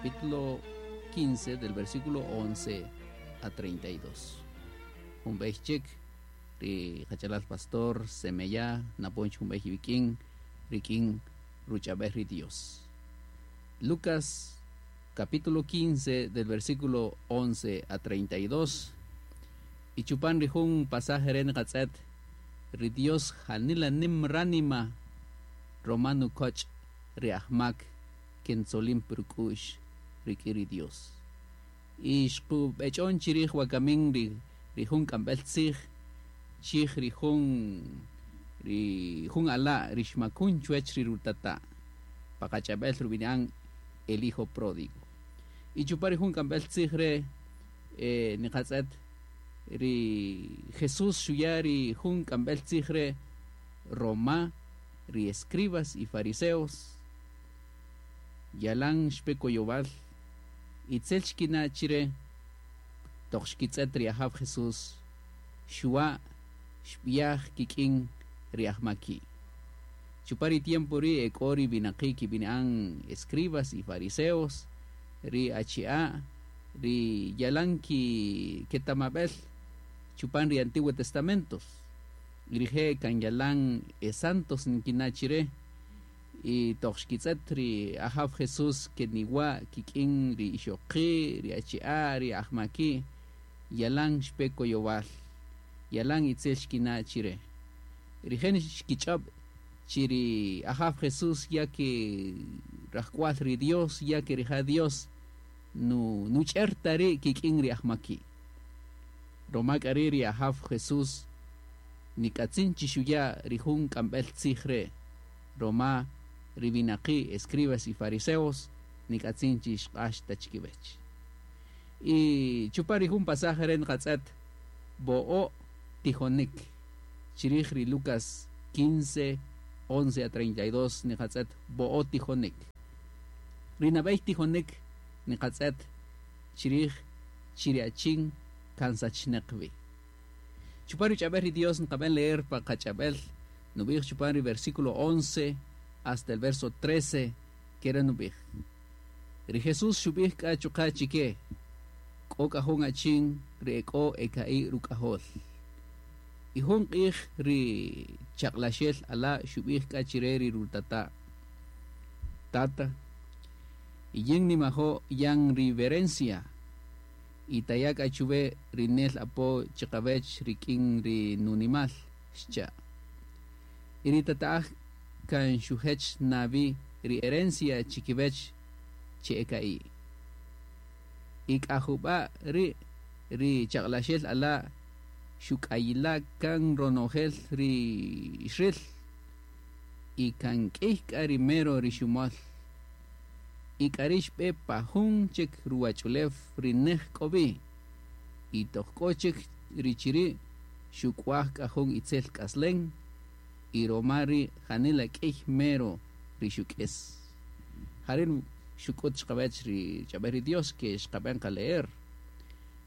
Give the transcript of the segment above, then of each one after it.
Capítulo 15 del versículo 11 a 32. Jun b'ey chik ri qachalal pastor Semeya napon jun b'ey iwik'in rik'in ruch'ab'el ri Dios. Lucas capítulo 15 del versículo 11 a 32. Y chupan ri jun pasaje re niqatz'et ri Dios janila nim ránima roma nukoch' ri ajmak kentzolin puruk'u'x rik'in ri Dios. Y xqub'ech'on chirij wakamin ri ri jun k'amb'el tzij chij ri jun ala' ri xmakun chuwech ri rutata' pa qach'ab'el rub'ini'an el hijo pródigo. Y chupan ri jun k'amb'el tzij re niqatz'et ri Jesús xuya' ri jun k'amb'el tzij re roma ri escribas y fariseos yalan xpe koyowal itzel xkina' chire toq xkitz'et ri Ajaw Jesús xuwa' xb'iyaj kik'in ri ajmaki'. Chupan ri tiempo ri' ek'o ri winaqi' kib'ini'an escribas y fariseos ri achi'a' ri yalan ki ketamab'el chupan ri Antiguo Testamentos. Rije' kan yalan e santos nkina' chire y toq xkitz'et ri Ajaw Jesús keniwa' kik'in ri ixoqi', ri achi'a', ri ajmaki', yalan xpe koyowal, yalan itzel xkina' chire. Rije' xkich'ob' chi ri Ajaw Jesús ya ke rajk'wal ri Dios, ya ke rija' Dios nu nuch'er ta ri' kik'in ri ajmaki'. Roma k'a ri' ri Ajaw Jesús nik'atzin chi xuya' ri jun k'amb'el tzij re' roma ri winaqi' escribas y fariseos nik'atzin chi xq'ax ta chikiwech. Y chupan ri jun pasaje re' niqatz'et bo'o' tijonik chirij ri Lucas 15, 11 a 32 niqatz'et bo'o' tijonik. Ri nab'ey tijonik niqatz'et chirij chi ri achin kan sachnaq wi. Chupan ruch'ab'el ri Dios nqab'en leer pa qach'ab'el nub'ij chupan ri versículo 11 hasta el verso 13 kere nub'ij. Ri Jesús xub'ij k'a chuqa' chike k'o k'a jun achin ri ek'o eka'i' ruk'ajol. Y jun q'ij ri chaq'laxel ala' xub'ij k'a chire ri rutata'. Tata, yin nimajo' yan ri verencia y taya' k'a chuwe ri nel apo chiqawech rik'in ri nunimal, xcha'. Y ri tata'aj kan xujech nawi ri herencia chikiwech chi eka'i'. Y k'a jub'a' ri ri chaq'laxel ala' xuk'ayila' kan ronojel ri xril y kan k'ïy k'a ri mero ri xumol. Y k'a ri' xb'e pa jun chik ruwach'ulew ri nej k'o wi. Y toq k'o chik ri chiri' xuk'waj k'a jun itzel k'aslen y roma ri janila k'ïy mero ri xuk'is. Jari' xuk'ut chiqawech ri ch'ab'el ri Dios ke xqab'en qaleer.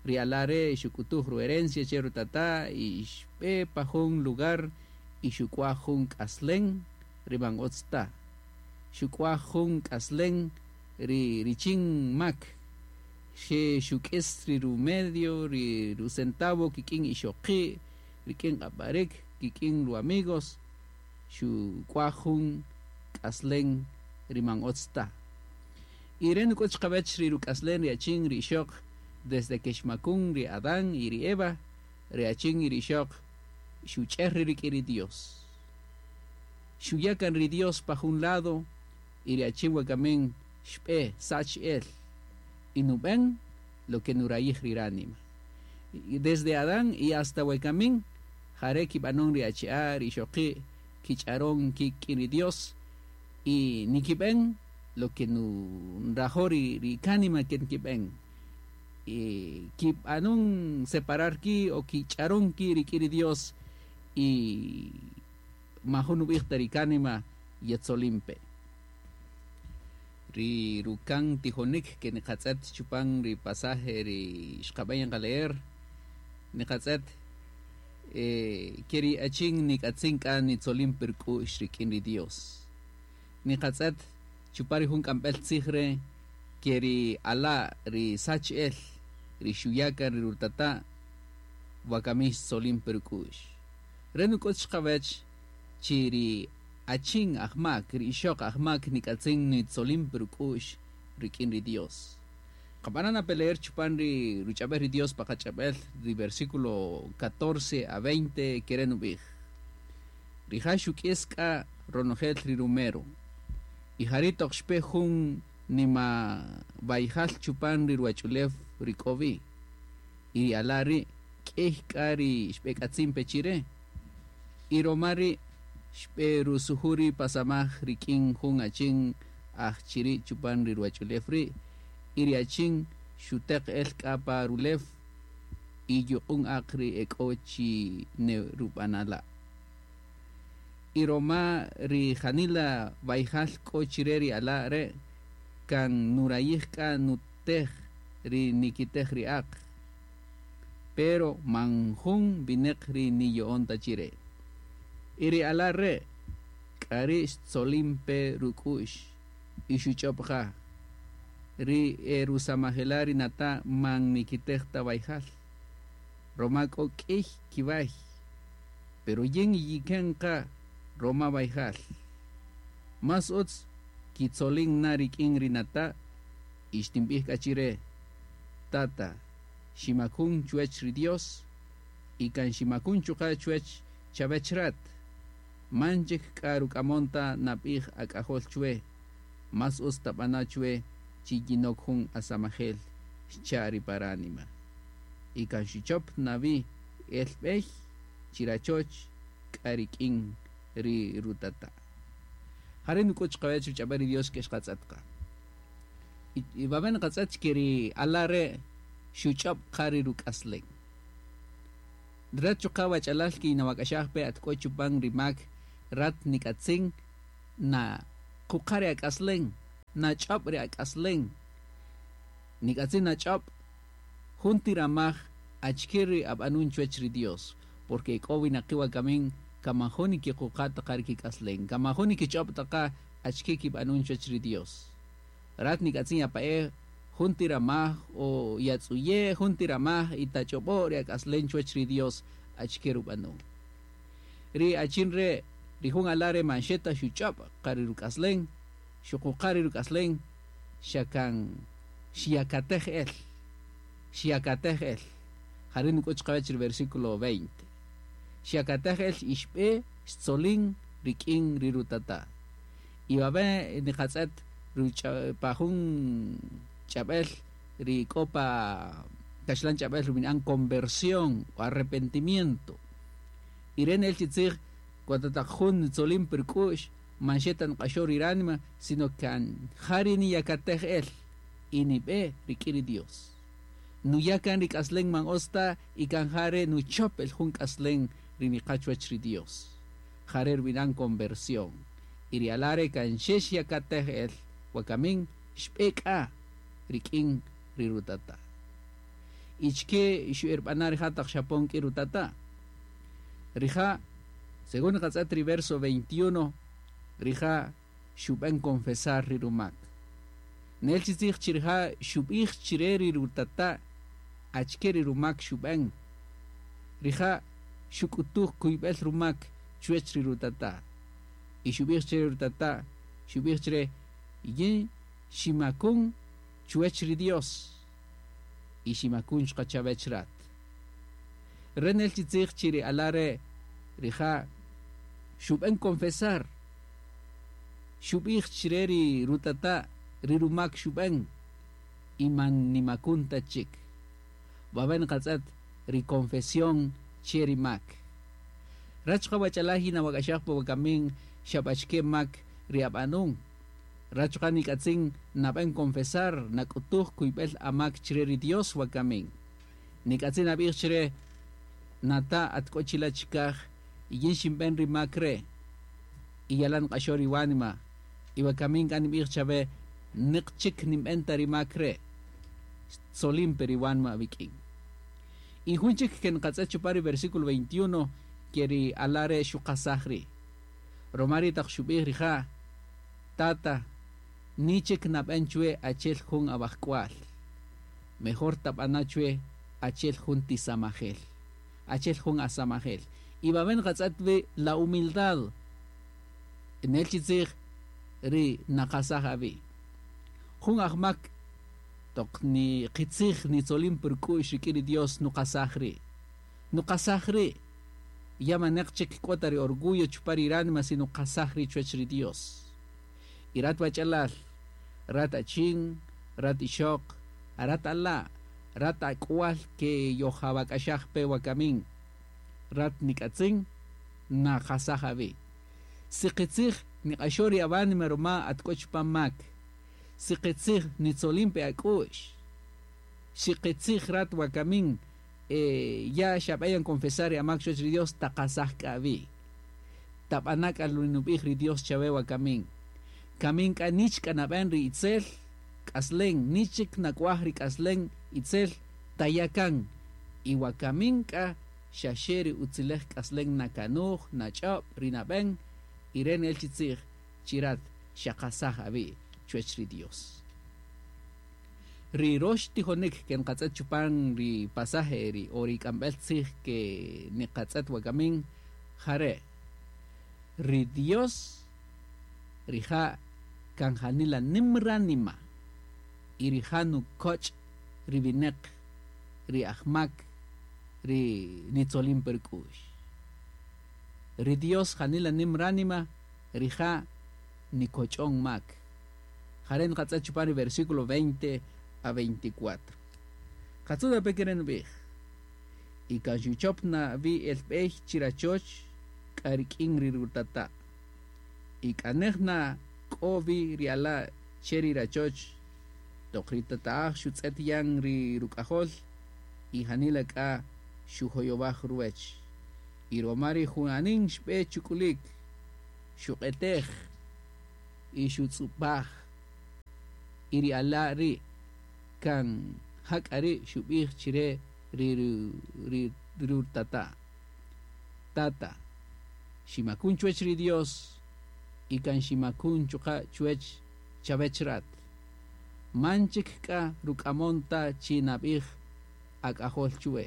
Ri ala' re' xuk'utuj ruherencia che rutata' y xb'e pa jun lugar y xuk'waj jun k'aslen ri man utz ta. Xuk'waj jun k'aslen ri richin mak. Xe xuk'is ri rumedio, ri rucentavo kik'in ixoqi', rik'in q'ab'arik, kik'in ru amigos, xuk'waj jun k'aslen ri man utz ta. Y re' nuk'ut chiqawech ri ruk'aslen ri achin ri ixoq desde que xmakun ri Adán y ri Eva, ri achin y ri ixoq xuch'er ri rik'in ri Dios. Xuya' kan ri Dios pa jun lado y ri achin wakamin xb'e sach el y nub'en lo que nurayij ri ránima. Y desde Adán y hasta wakamin jare' kib'anon ri achi'a' ri ixoqi' kich'aron kik'in ri Dios y nikib'en lo que nrajo' ri kánima ke nikib'en. Y kib'anon separar ki' o kich'aron ki' rik'in ri Dios y majun nub'ij ta ri kánima yetzolin pe. Ri rukan tijonik ke niqatz'et chupan ri pasaje ri xqab'en qaleer niqatz'et ke ri achin nik'atzin k'a nitzolin pirk'u'x rik'in ri Dios. Niqatz'et chupan ri jun k'amb'el tzij re' Ke ri ala' ri sach el ri xuya' kan ri rutata' wakami xtzolin pe ruk'u'x. Re' nuk'üt chqawäch chi ri achin ajmak, ri ixöq ajmak nik'atzin nitzolin pe ruk'u'x rik'in ri Dios. Qab'ana' na pe leer chupan ri ruch'ab'äl ri Dios pa qach'ab'äl ri versículo 14 a 20 ke re' nub'ij, Rija' xuk'is k'a ronojel ri rumero, y jari' toq xpe jun nima-wayjal chupan ri ruwach'ulew ri k'o wi, y ri ala' ri' k'ey k'a ri xb'ek'atzin pe chire, y roma ri' xb'erusuju' ri' pa samaj rik'in jun achin aj chiri' chupan ri ruwach'ulew ri', y ri achin xuteq el k'a pa rulew y yuq'un aq ri ek'o chi nerub'anala'. Y roma ri janila wayjal k'o chire ri ala' re' kan nurayij k'a nutej ri nikitej ri aq, pero man jun wineq ri niyo'on ta chire. Y ri ala' re' k'ari' xtzolin pe ruk'u'x y xuch'ob qa, Ri e rusamajela' ri nata' man nikitej ta wayjal, roma k'o k'iy kiway, pero yin yiken qa roma wayjal. Más utz kitzolin na rik'in ri nata' y xtinb'ij k'a chire, Tata, ximakun chuwech ri Dios y kan ximakun chuqa' chuwech chawech rat. Man chik k'a ruk'amon ta nab'ij ak'ajol chwe, más utz tab'ana' chwe chi yinok jun asamajel, xcha' ri pa ránima. Y kan xuchop na wi el b'ey chirachoch k'a rik'in ri rutata'. Jare' nuk'ut chqawech ruch'ab'äl ri Dios ke xqatz'ët qa. Y wawe' nqatz'ët chi ke ri ala' re' xuch'öb' qa ri ruk'aslen. Rat chuqa' wach'alal kinawak'axaj pe at k'o chupan ri mak, rat nik'atzin naquqa' ri ak'aslen, nach'öb' ri ak'aslen. Nik'atzin nach'öb' jun ti ramaj achike ri ab'anun chuwech ri Dios, porque e k'o winaqi' wakamin kan man jun nikiquqa' ta qa ri kik'aslen, kan man jun nikich'öb' ta qa achike kib'anun chuwech ri Dios. Rat nik'atzin yapa'e jun ti ramaj o yatz'uye' jun ti ramaj y tach'ob'o' ri ak'aslen chuwech ri Dios achike rub'anun. Ri achin re' ri jun ala' re' man xe ta xuch'öb' qa ri ruk'aslen, xuquqa' ri ruk'aslen, xa kan xyakatej el, xyakatej el. Jari' nuk'ut chqawech ri versículo veinte. Xyakatej el y xb'e xtzolin rik'in ri rutata'. Y wawe' niqatz'et pa jun ch'ab'äl ri k'o pa kaxlan ch'ab'äl rub'ini'an conversión o arrepentimiento. Y re' nel chi tzij cuando taq jun ntzolin pä ruk'u'x man xe ta nq'axo ri ránima, sino kan ja ri niyakatej el y nib'e rik'in ri Dios. Nuya' kan ri k'aslen man utz ta y kan ja re' nuchöp el jun k'aslen ri niqa chuwäch ri Dios. Ja re' rub'ini'an conversión. Y ri ala' re' kan xe xyakatej el wakamin xb'e k'a rik'in ri rutata'. Y chike xu'erb'ana' rija' taq xapon k'in rutata'. Rija', según nqatz'ët ri verso 21, rija' xub'en confesar ri rumak. Nel chi tzij chi rija' xub'ij chire ri rutata' achike ri rumak xub'en. Rija' xuk'utuj kuyb'el rumak chuwech ri rutata'. Y xub'ij chire ri rutata', xub'ij chire, Yin ximakun chuwech ri Dios y ximakun chuqa' chawech rat. Re' nel chi tzij chi ri ala' re' rija' xub'en confesar, xub'ij chire ri rutata' ri rumak xub'en y man nimakun ta chik. Wawe' nqatz'ët ri confesión che ri mak. Rat chuqa' wach'alal yinawak'axaj pa wakamin xa b'achike mak ri ab'anun. Rat chuqa' nik'atzin nab'en confesar, nak'utuj kuyb'el amak chire ri Dios wakamin. Nik'atzin nab'ij chire, Nata' at k'o chila' chikaj, y yin xinb'en ri mak re', y yalan nq'axo ri wánima, y wakamin k'a nib'ij chawe, Niq chik ninb'en ta ri mak re', xtzolin pe ri wánima awik'in. Y jun chik ke nqatz'et chupan ri versículo 21, ke ri ala' re' xuqasaj ri'. Roma ri' taq xub'ij rija', Tata, Ni chik nab'en chwe achel jun awajk'wal. Mejor tab'ana chwe achel jun tisamajel. Achel jun asamajel. Y wawe' nqatz'ët wi la humildad. Nel chi tzij ri naqasaj awi'. Jun ajmak toq ni qitzij nitzolin pä ruk'u'x rik'in ri Dios nuqasaj ri'. Nuqasaj ri'. Ya maneq chik k'o ta ri orgullo chupan ri ránima si nuqasaj ri' chuwäch ri Dios. Y rat wach'alal, rat achin, rat ixöq, rat ala', rat ak'wal ke yojawak'axaj pe wakamin, rat nik'atzin naqasaj awi'. Si qitzij niq'axo ri awánima ruma at k'o chupan mak, si qitzij nitzolin pe ak'u'x, si qitzij rat wakamin ya xab'en yan confesar ri amak chuwäch ri Dios, taqasaj k'a awi'. Tab'ana' k'a ri nub'ij ri Dios chawe wakamin. Kamin k'a nich k'a nab'en ri itzel k'aslen, nich chik nak'waj ri k'aslen itzel, taya' kan. Y wakamin k'a xa xe ri utzilej k'aslen nakanuj, nach'öb', ri nab'en, y re' nel chi tzij chi rat xaqasaj awi' chuwäch ri Dios. Ri rox tijonik ke nqatz'ët chupan ri pasaje ri o ri k'amb'el tzij ke niqatz'ët wakamin ja re', Ri Dios rija' kan janila nim ránima y rija' nukoch' ri winäq ri ajmak ri nitzolin pe ruk'u'x. Ri Dios janila nim ránima, rija' nikoch'on mak. Jare' nqatz'ët chupan ri versículo 20 a 24. Qatzu' tape' ke re' nub'ij, Y kan xuchop na wi el b'ey chirachoch k'a rik'in ri rutata'. Y k'a nej na k'o wi ri ala' che ri rachoch, toq ri tata'aj xutz'ët yan ri ruk'ajol y janila k'a xujoyowaj ruwech. Y roma ri junanin xb'e chuk'ulik, xuq'etej y xutz'ub'aj. Y ri ala' ri' kan ja k'a ri' xub'ij chire ri rutata', Tata, ximakun chuwech ri Dios y kan ximakun chuqa' chuwech chawech rat. Man chik k'a ruk'amon ta chi nab'ij ak'ajol chuwe.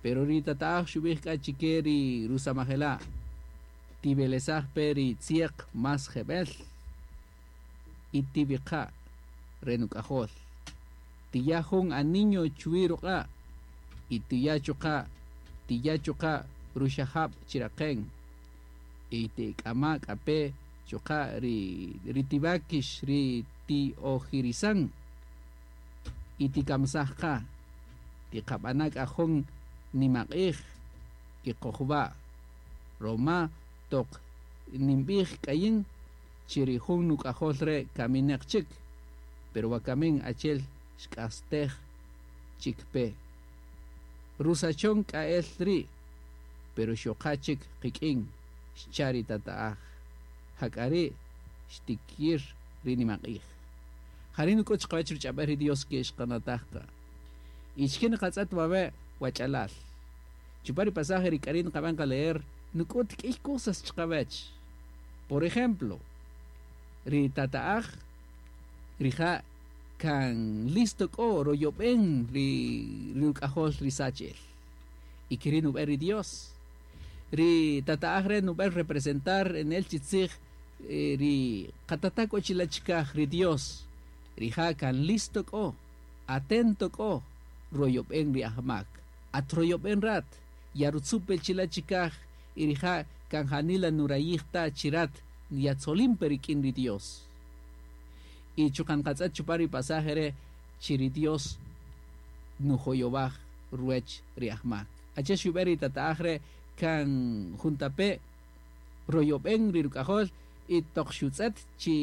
Pero ri tata'aj xub'ij k'a chike ri rusamajela', Tivelesaj pe ri tzieq más jeb'el y tiviqa' re nuk'ajol. Tiya' jun aniño chuwi ruq'a' y tiya' chuqa' tiya' chuqa' ruxajab' chiraqen. Y tik'ama' k'a pe chuqa' ri tiwákix ri ti'ojirisan y tikamisaj qa. Tiqab'ana' k'a jun nimaq'ij y qojwa', roma toq ninb'ij k'a yin chi ri jun nuk'ajol re' kamineq chik, pero wakamin achel xk'astej chik pe. Rusachon k'a el ri', pero xoqa chik qik'in, xcha' ri tata'aj. Jak'a ri' xtikir ri nimaq'ij. Jari' nuk'ut chiqawech ruch'ab'el ri Dios ke xqanataj qa. Y chike niqatz'et wawe' wach'alal. Chupan ri pasaje ri k'ari' niqab'en qa leer, nuk'ut k'iy cosas chiqawech. Por ejemplo, ri tata'aj rija' kan listo k'o royob'en ri ruk'ajol ri sach el. Y keri' nub'en ri Dios. Ri tata'aj re' nub'en representar nel chi tzij ri qatata' k'o chila' chikaj, ri Dios. Rija' kan listo k'o, atento k'o, royob'en ri ajmak. At royob'en rat, yarutzu' pe chila' chikaj y rija' kan janila nurayij ta chi rat yatzolin pe rik'in ri Dios. Y chuqa' nqatz'et chupan ri pasaje re' chi ri Dios nujoyowaj ruwech ri ajmak. Achi'el xub'en ri tata'aj re' kan juntape' royob'en ri ruk'ajol y toq xutz'et chi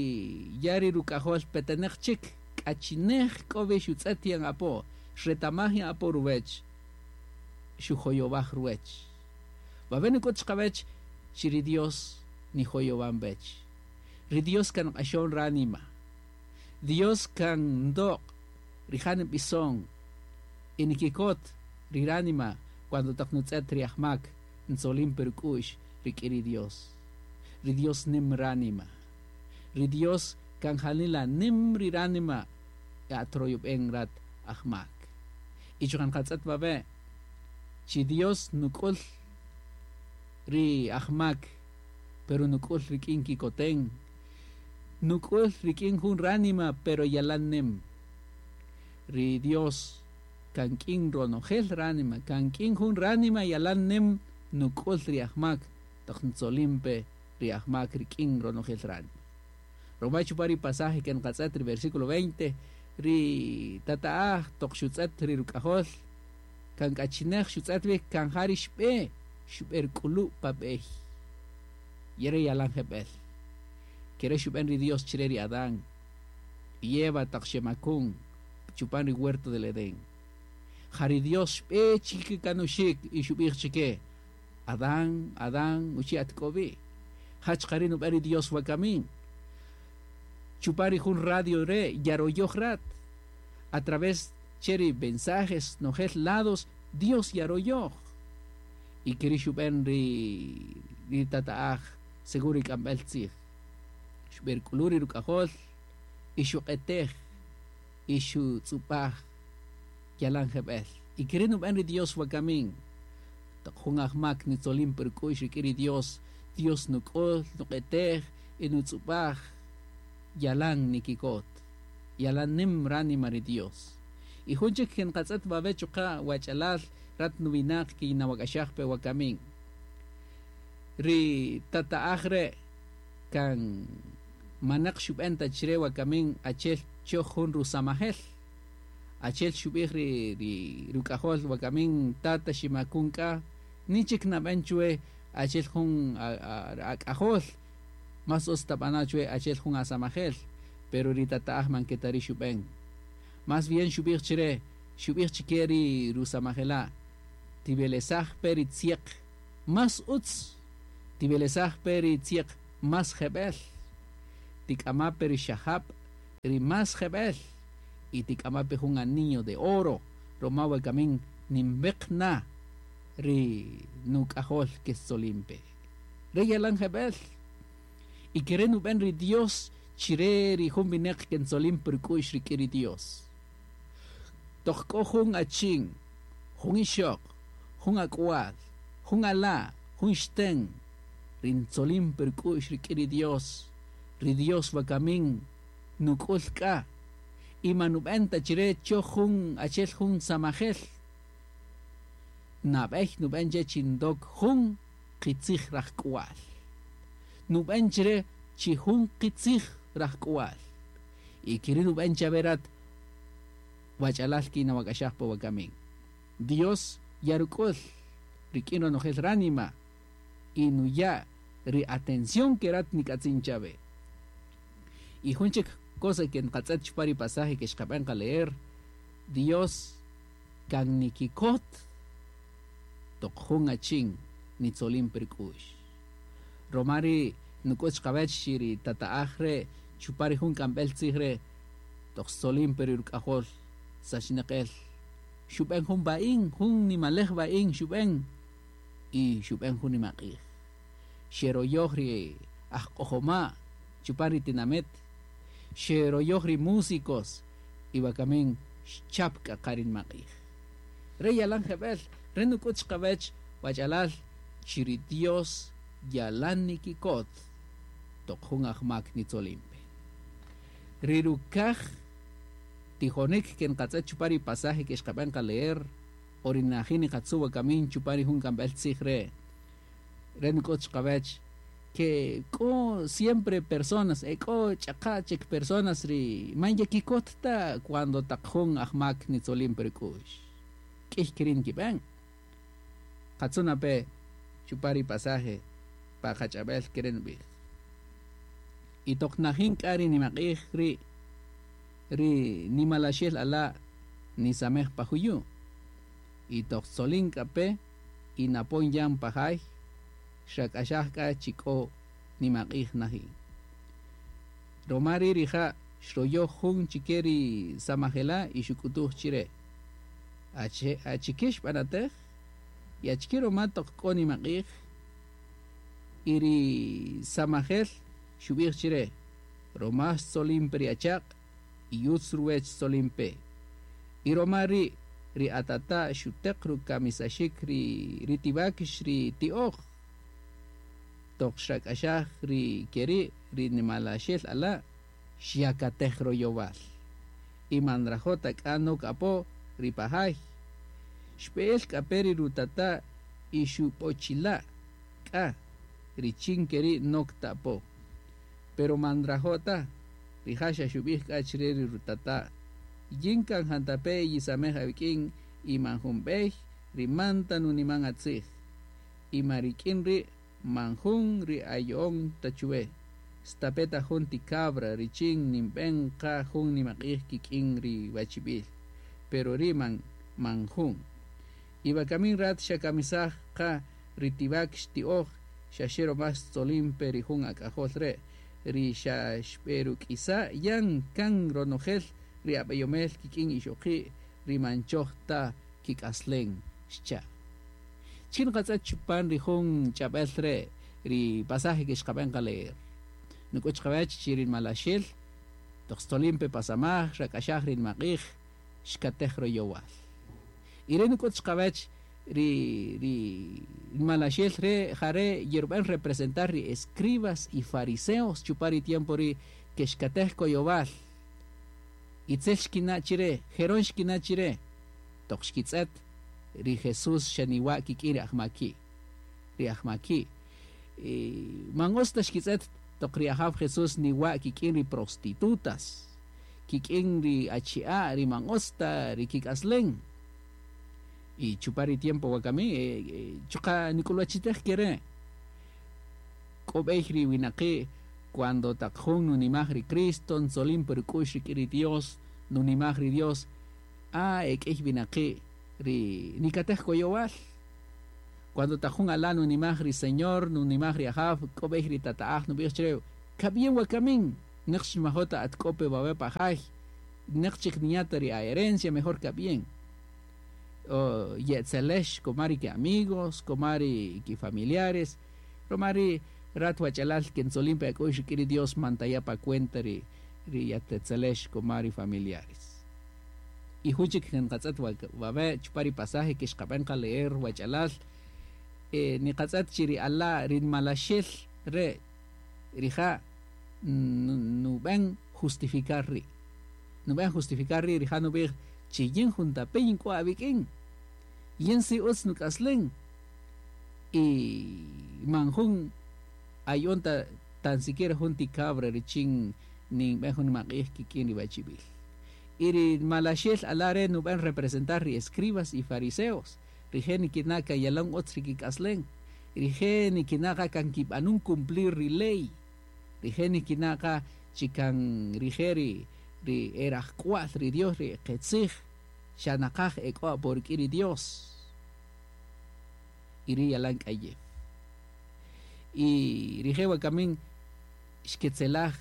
ya ri ruk'ajol peteneq chik, k'a chi nej k'o wi xutz'et yan apo, xretamaj yan apo ruwech, xujoyowaj ruwech. Wawe' nuk'ut chiqawech chi ri Dios nijoyowan wech. Ri Dios kan nq'axon ránima. Dios kan ndoq', rija' nb'ison y nikikot ri ránima cuando taq nutz'et ri ajmak ntzolin pe ruk'u'x rik'in ri Dios. Ri Dios nim ránima. Ri Dios Kan janila nim ri ránima atroyob'en rat ajmak. Y chuqa' nqatz'et wawe' chi Dios nuk'ul ri ajmak, pero nuk'ul rik'in kikoten, nuk'ul rik'in jun ránima, pero yalan nim. Ri Dios kan k'in ronojel ránima, kan k'in jun ránima yalan nim nuk'ul ri ajmak, toq ntzolin pe ri ajmak rik'in ronojel ránima. Roma chupan ri pasaje ke nqatz'et ri versículo 20, ri tata'aj toq xutz'et ri ruk'ajol, kan k'achinej xutz'et wi kan ja ri xb'e, xb'eruk'ulu' pa b'ey. Yere yalan jeb'el. Kere xub'en ri Dios chire ri Adán y Eva taq xemakun chupan ri huerto del Edén. Ja ri Dios xb'e chikikanuxik y xub'ij chike, Adán, Adán, uchi atk'obi. Ja chuqa' ri' nub'en ri Dios wakamin. Chupan ri jun radio re' yaroyoj rat. A través che ri mensajes nojel lados, Dios yaroyoj. Y keri' xub'en ri tata'aj según ri k'amb'el tzij. Xb'eruk'ulu' ri ruk'ajol y xuq'etej y xutz'ub'aj yalan jeb'el. Y keri' nub'en ri Dios wakamin. Toq jun ajmak nitzolin pe ruk'u'x rik'in ri Dios, Dios nuk'ul, nuq'etej y nutz'ub'aj yalan nikikot. Yalan nim ránima ri Dios. Y jun chik ke nqatz'et wawe' chuqa' wach'alal rat nuwinaq kinawak'axaj pe wakamin. Ri tata'aj re' kan manaq xub'en ta chire wakamin achel choj jun rusamajel. Achel xub'ij ri ruk'ajol wakamin tata ximakun k'a, ni chik nab'en chwe achel jun ak'ajol, mas utz tab'ana chwe achel jun asamajel, pero ri tata'aj man ketari xub'en. Mas bien xub'ij chire, xub'ij chike ri rusamajela', tib'elesaj pe ri tzieq mas utz, tib'elesaj pe ri tzieq mas jeb'el, tik'ama pe ri xajab' ri mas jeb'el, y tik'ama pe jun anillo de oro, roma wakamin nimbeq na ri nuk'ajol ke tzolin pe. Re yalan jeb'el. Y kere nub'en ri Dios chire ri jun wineq ke ntzolin pe ruk'u'x rik'in ri Dios. Toq k'o jun achin, jun ixoq, jun ak'wal, jun ala', jun xten, ri ntzolin pe ruk'u'x rik'in ri Dios, ri Dios wakamin nuk'ul k'a, y man nub'en ta chire choj jun achel jun samajel. Nab'ey nub'en che chi ndok jun qitzij rajk'wal. Nub'en chire chi jun qitzij rajk'wal. Y keri' nub'en chawe rat wach'alal kinawak'axaj pe wakamin. Dios yaruk'ul rik'in ronojel ránima y nuya' ri atención ke rat nik'atzin chawe. Y jun chik cosa ke nqatz'et chupan ri pasaje ke xqab'en qa leer, Dios kan nikikot toq jun achin nitzolin pe ruk'u'x. Roma ri nuk'ut chiqawech chi ri tata'aj re' chupan ri jun k'amb'el tzij re' toq xtzolin pe ri ruk'ajol sachinaq el, xub'en jun b'a'in, jun nimalej b'a'in xub'en y xub'en jun nimaq'ij. Xeroyoj ri ajq'ojoma' chupan ri tinamet, xeroyoj ri músicos y wakamin xchap k'a qa ri nimaq'ij. Re yalan jeb'el, re nuk'ut chiqawech wach'alal chi ri Dios yalan nikikot toq jun ajmak nitzolin pe. Ri rukaj tijonik ke nqatz'et chupan ri pasaje ke xqab'en qa leer, o ri najin niqatzu' wakamin chupan ri jun k'amb'el tzij re', re nuk'ut chiqawech ke k'o siempre personas, k'o ch'aqa chik personas ri man yekikot ta cuando taq jun ajmak nitzolin pe ruk'u'x. K'ïy keri' nkib'en. Qatzu' na pe chupan ri pasaje pa qach'ab'el kere' nub'ij. Y toq najin k'a ri nimaq'ij ri' ri nimalaxel ala' nisamej pa juyu'. Y toq tzolin k'a pe y napon yan pa jay, xrak'axaj k'a chi k'o nimaq'ij najin. Roma ri' rija' xroyoj jun chike ri samajela' y xuk'utuj chire, Achike xb'anatej? Y achike roma toq k'o nimaq'ij? Y ri samajel xub'ij chire, Roma xtzolin pe ri achaq' y utz ruwech xtzolin pe. Y roma ri' ri atata' xuteq rukamisaxik ri ri ti wakix ri ti'oj. Toq xrak'axaj ri keri' ri nimalaxel ala' xyakatej royowal y man nrajo' ta k'a nok apo ri pa jay. Xb'e'el k'a pe ri rutata' y xub'ochila' k'a richin keri' nok ta apo. Pero man nrajo' ta, rija' xa xub'ij k'a chire ri rutata', Yin kan jantape' yisamej awik'in y man jun b'ey ri man ta nuniman atzij. Y man rik'in ri' man jun ri aya'on ta chuwe, stape' ta jun ti cabra richin ninb'en qa jun nimaq'ij kik'in ri wachib'il. Pero ri' man man jun. Y wakamin rat xakamisaj qa ri ti wakx ti'oj xa xe roma xtzolin pe ri jun ak'ajol re', ri xa xb'eruk'isa' yan kan ronojel ri ab'eyomel kik'in ixoqi' ri man choj ta kik'aslen, xcha'. Chin nqatz'ët chupan ri jun ch'ab'äl re' ri pasaje ke xqab'än qa leer. Nuk'üt chqawäch chi ri nmalaxel toq xtzolin pe pa samaj xrak'axaj ri nmaq'ij xkatej royowal. Y re' nuk'üt chqawäch ri ri nmalaxel re' ja re' yerub'än representar ri escribas y fariseos chupan ri tiempo ri' ke xkatej koyowal. Itzel xkina' chi re, jeron xkina' chi re, toq xkitz'ët ri Jesús xa niwa' kik'in ri ajmaki'. Ri ajmaki'. Y man utz ta xkitz'ët toq ri Ajaw Jesús niwa' kik'in ri prostitutas, kik'in ri achi'a' ri man utz ta ri kik'aslen. Y chupan ri tiempo wakami chuqa' nik'ulwachitej ke re'. K'o b'ey ri winaqi' cuando taq jun nunimaj ri Cristo, ntzolin pa ruk'u'x rik'in ri Dios, nunimaj ri Dios, ah, e k'ïy winaqi' ri nikatej koyowal. Cuando taq jun ala' nunimaj ri Señor, nunimaj ri Ajaw, k'o b'ey ri tata'aj nub'ij chre, Kab'yen wakamin, neq xmajo' ta at k'o pe wawe' pa jay, neq chik niya' ta ri a-herencia, mejor kab'yen. O ye'etzelex koma ri ki-amigos, koma ri ki-familiares, roma ri' rat wach'alal ke ntzolin pe ak'u'x rik'in ri Dios man taya' pa cuenta ri ri yatetzelex koma ri familiares. Y jun chik nqatz'ët wawe' chupan ri pasaje ke xqab'än qa leer wach'alal, niqatz'ët chi ri ala' ri nmalaxel re' rija' nub'än justificar ri'. Nub'än justificar ri' rija' nub'ij chi yin juntape' yin k'o awik'in, yin si utz nuk'aslen y man jun aya'on ta tan siquiera jun ti cabra richin ninb'än jun nimaq'ij kik'in ri wachib'il. Y ri malaxel ala' re' nub'än representar ri escribas y fariseos, rije' nikina' kan yalan utz ri kik'aslen, rije' nikina' qa kan kib'anun cumplir ri ley, rije' nikina' qa chi kan rije' ri ri e rajk'wa'l ri Dios ri qitzij xa naqaj e k'o apo rik'in ri Dios. Y ri' yalan k'ayew. Y rije' wakamin xketzelaj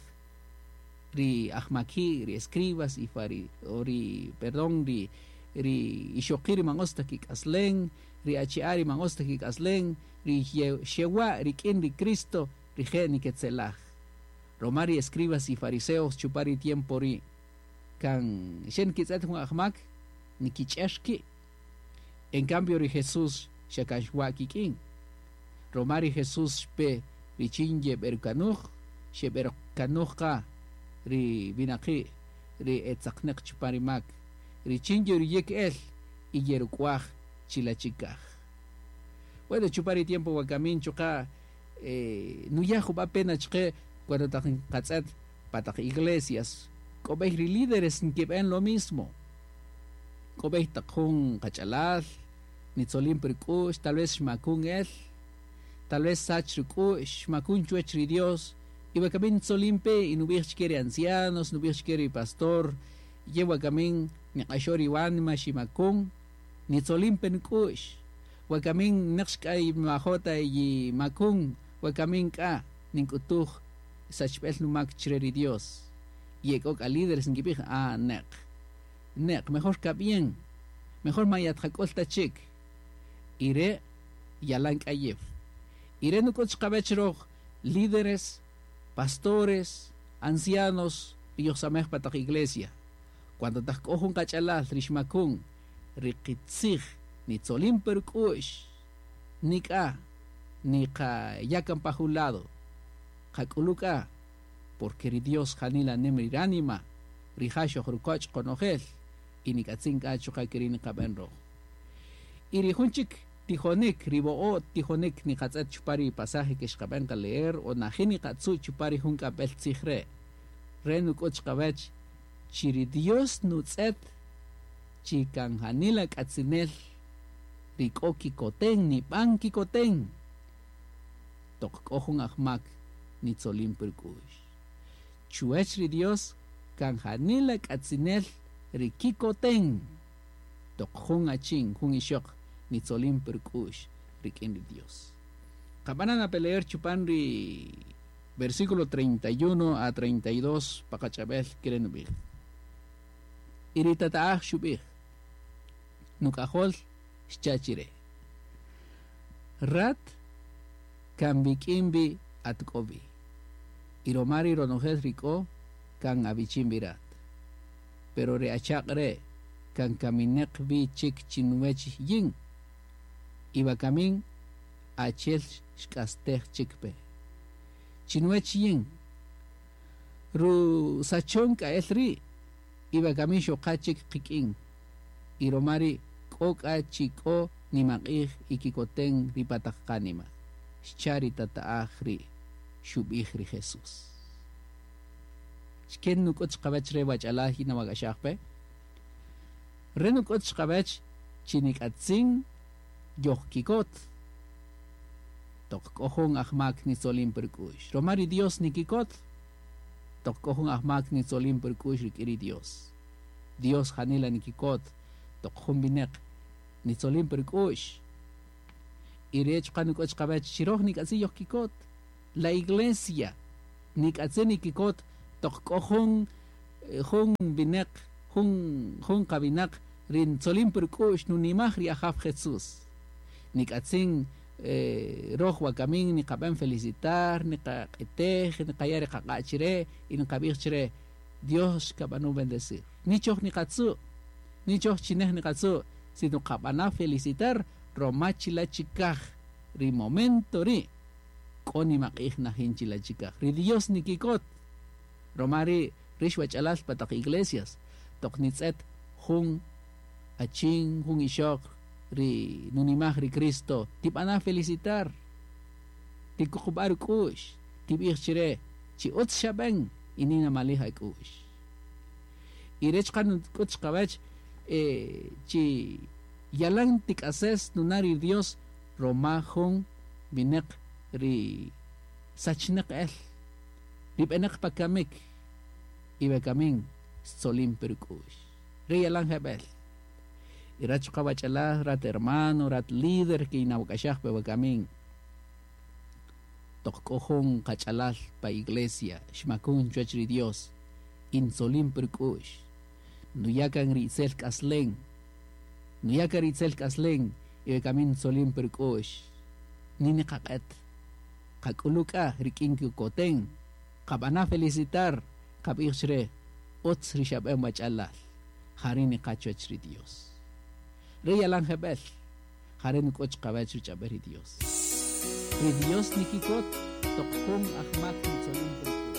ri ajmaki', ri escribas y fari o ri perdón ri ri ixoqi' ri man utz ta kik'aslen, ri achi'a' ri man utz ta kik'aslen, ri xewa' rik'in ri Cristo, rije' niketzelaj. Roma ri escribas y fariseos chupan ri tiempo ri' kan xe nkitz'ët jun ajmak nikich'er ki'. En cambio ri Jesús xa kan xwa' kik'in. Roma ri Jesús xpe richin yeb'erukanuj, xeb'erukanuj qa ri winaqi' ri e tzaqnäq chupan ri mak, richin yeruyäk el y yeruk'waj chila' chikaj. Bueno, chupan ri tiempo wakamin chuqa' nuya' jub'a' pena chqë cuando taq nqatz'ët pa taq iglesias k'o b'ey ri líderes nkib'än lo mismo. K'o b'ey taq jun qach'alal nitzolin pä ruk'u'x, tal vez xmakun el, tal vez xsach ruk'u'x, xmakun chwäch ri Dios, y wakamin ntzolin pe y nub'ij chkë ri ancianos, nub'ij chkë ri pastor, Ye wakamin niq'axo ri wánima ximakun, nitzolin pe nuk'u'x. Wakamin neq xk'a nwajo' ta yimakun, wakamin k'a nink'utuj sachb'el numak chre ri Dios. Y e k'o k'a líderes nkib'ij, Ah, neq. Neq, mejor kab'yen. Mejor man yatqak'ül ta chik. Y re' yalan k'ayew. Y re' nuk'üt chqawäch röj líderes, pastores. Ancianos ri yojsamej pa taq iglesia, cuando taq k'o jun qach'alal ri xmakun, ri qitzij nitzolin pe ruk'u'x, nik'a niqaya' kan pa jun lado, qak'ulu' k'a, porque ri Dios janila nim ri ránima, rija' xojrukoch' qonojel, y nik'atzin k'a chuqa' ke ri' niqab'än röj. Y ri jun chik tijonik, ri wo'o' tijonik niqatz'ët chupan ri pasaje que xqab'än qa leer o najin niqatzu' chupan ri jun k'amb'el tzij re', re' nuk'ut chiqawäch chi ri Dios nutz'ët chi kan janila k'atzinel ri k'o kikoten, nib'an kikoten, toq k'o jun ajmak nitzolin pe ruk'u'x. Chuwäch ri Dios kan janila k'atzinel ri kikoten, toq jun achin, jun ixöq nitzolin pe ruk'u'x rik'in ri Dios. Qab'ana' na pe leer chupan ri versículo 31 a 32 pa qach'ab'el ke re' nub'ij. Y ri tata'aj xub'ij, Nuk'ajol, xcha' chi re'. Rat kan wik'in wi at k'o wi, y roma ri ronojel ri k'o kan awichin wi rat. Pero re achaq' re' kan kamineq wi chik chinuwech yin, y wakamin achi'el xk'astej chik pe. Chinuwech yin, rusachon k'a el ri', y wakamin xoqa chik qik'in, y roma ri' k'o k'a chi k'o nimaq'ij y kikoten ri pa taq qánima, xcha' ri tata'aj ri', xub'ij ri Jesús. Xken nuk'ut chiqawech re wach'alal yinawak'axaj pe? Re nuk'ut chiqawech chi nik'atzin yojkikot toq k'o jun ajmak nitzolin pe ruk'u'x. Roma ri Dios nikikot toq k'o jun ajmak nitzolin pe ruk'u'x rik'in ri Dios. Dios janila nikikot toq jun wineq nitzolin pe ruk'u'x. Y re' chuqa' nuk'ut chiqawech chi röj nik'atzin yojkikot. La iglesia nik'atzin nikikot toq k'o jun jun wineq, jun jun qawinaq ri ntzolin pe ruk'u'x nunimaj ri Ajaw Jesús. Nik'atzin röj wakamin niqab'än felicitar, niqaq'etej, niqaya' ri qaq'a' chi re' y niqab'ij chi re', Dios kab'anun bendecir. Ni choj niqatzu', ni choj chi nej niqatzu', sino qab'ana' felicitar roma chila' chikaj ri momento ri' k'o nimaq'ij najin chila' chikaj. Ri Dios nikikot, roma ri' rix wach'alal pa taq iglesias toq nitz'et jun achin, jun ixöq ri nunimaj ri Cristo, tib'ana' felicitar, tikuqub'a' ruk'u'x, tib'ij chi re' chi utz xab'än y ninamalij ak'u'x. Y re' chuqa' nuk'ut chiqawech chi yalan tik'ases nuna' ri Dios roma jun wineq ri sachnäq el, ri b'enäq pa kamik y wakamin xtzolin pe ruk'u'x. Re' yalan jeb'ël. Y rat chuqa' wach'alal, rat hermano, rat líder ke yinawak'axaj pe wakamin, toq k'o jun qach'alal pa iglesia xmakun chuwäch ri Dios y ntzolin pe ruk'u'x, nuya' kan ri itzel k'aslen, nuya' kan ri itzel k'aslen y wakamin ntzolin pe ruk'u'x, ni niqaq'et. Qak'ulu' k'a rik'in kikoten, qab'ana' felicitar, qab'ij chi re', Utz ri xab'än wach'alal, ja ri' niqa chuwäch ri Dios. Re' yalan jeb'ël, ja re' nuk'ut chiqawäch ruch'ab'äl ri Dios. Ri Dios nikikot toq jun ajmak nitzolin pe ruk'u'x.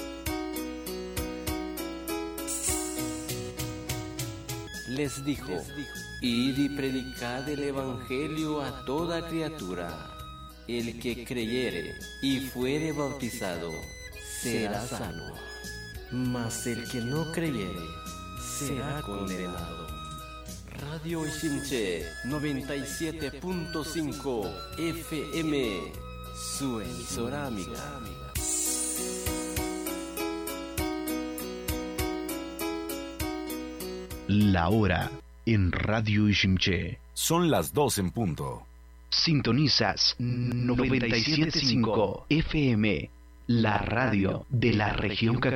Les dijo, Id y predicad el Evangelio a toda criatura. El que creyere y fuere bautizado, será salvo. Mas el que no creyere, será condenado. Radio Iximché 97.5 FM, su emisora amiga. La hora en Radio Iximché. Son las 2 en punto. Sintonizas 97.5 FM, la radio de la región Cachi.